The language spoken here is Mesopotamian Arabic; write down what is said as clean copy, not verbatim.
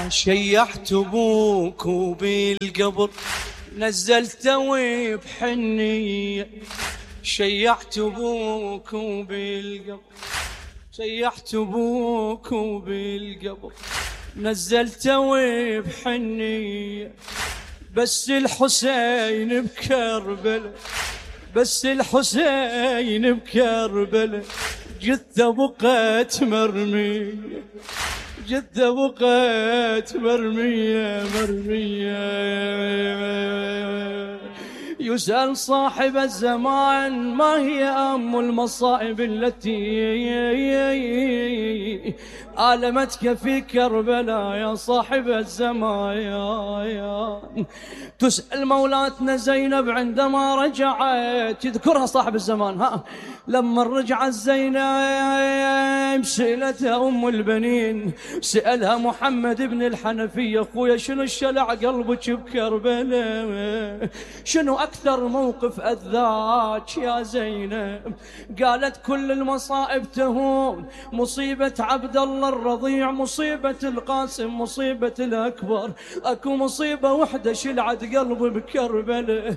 شيعت ابوك وبالقبر نزلته بحنية، شيعت ابوك وبالقبر، شيعت ابوك وبالقبر نزلته بحنية، بس الحسين بكربلة، بس الحسين بكربلة جثة بقت مرمية، جثة بقت مرمية مرمية. يسأل صاحب الزمان ما هي أم المصائب التي آلمتك في كربلاء يا صاحب الزمان. تسأل مولاتنا زينب عندما رجعت، يذكرها صاحب الزمان، ها لما رجعت زينب سألتها أم البنين، سألها محمد بن الحنفية أخويا شنو الشلع قلبك بكربلاء، شنو أكثر موقف أذاك يا زينب؟ قالت كل المصائب تهون، مصيبة عبد الله الرضيع، مصيبة القاسم، مصيبة الأكبر، أكو مصيبة وحدة شلعت قلبي بكربلاء،